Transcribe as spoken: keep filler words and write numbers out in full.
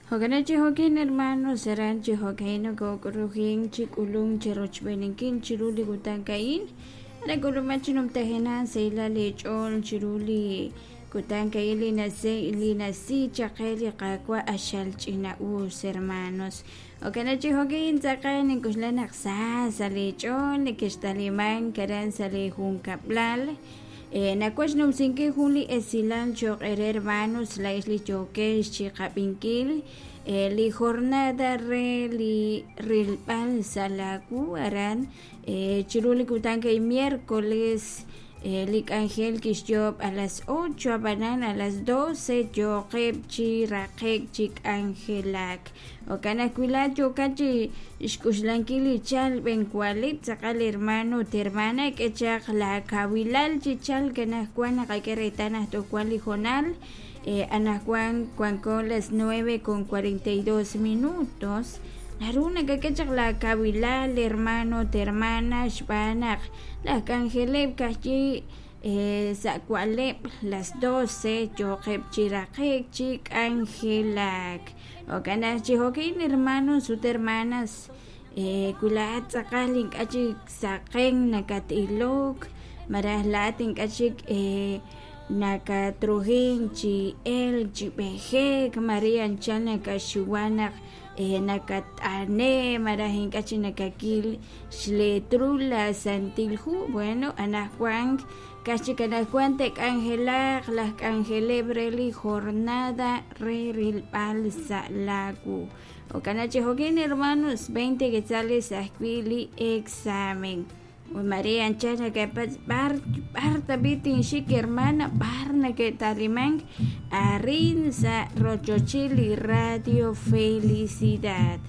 Jo'kan chi jo'kin hermanos aran chi jo'ka'in nokok'ulujin chi k'ulunk chi rochb'eeninkil chiru li kutan ka'in nak'uluman chi numtajenaq sahilal eech'ool chiru li kutan ka'in li nasi li nasi chaq qe li Qaawa' q'axal ch'ina'us hermanos. Jo'kan chi jo'kin tz'aqal nink'oxla naq sa sa' leech'ool nekextalimank aran sa' li junkab'lal. Nawaj xnumsinkil jun li esilal cho'q eere hermanos laa'ex li yookex chi qab'inkil li jornada re li rilb'al sa' laawu aran chiru li kutan ka'in miércoles li k'anjel kixyoob' a las ocho ab'anan a las doce yooqeb' chi raqe'k chi k'anjelak. Jo'kan ajwi' laa'at yookat chi xk'uxlankil li chalk b'enwalib' tz'aqal hermano ut hermana k'e chaq laakawilal chi chalk anaqwan naqak'e reetal naq toj wan li hoonal anaqwan wanko las nueve con cuarenta y dos minutos naru nakak'e chaq laakawilal hermano ut hermana xb'aan naq laj k'anjeleb' ka'ajwi' sa' wa'leb' las doce yooqeb' chi raqe'k chi k'anjelak. Jo'kan naq chi jo'kin hermanos ut hermanas wi laa'at tz'aqal ink'a' chik saqen nakat-ilok malaj laa'at ink'a' chik nakatrujink chi elk chi b'ejek mare anchal nakaxuwa naq nakat'ane malaj ink'a' chik nakakil xletrul la Santil Hu. Bueno, anaqwan ka'aj chik anaqwan te'k'anjelaq laj k'anjeleb' re li jornada re rilb'al sa' laawu. Jo'kan chi jo'kin hermanos veinte quetzales ajwi' li examen. Mare anchal nakapatz' b'ar b'ar tab'i' tinxik hermana b'ar nake'talimank arin sa' rochochil li Radio Felicidad.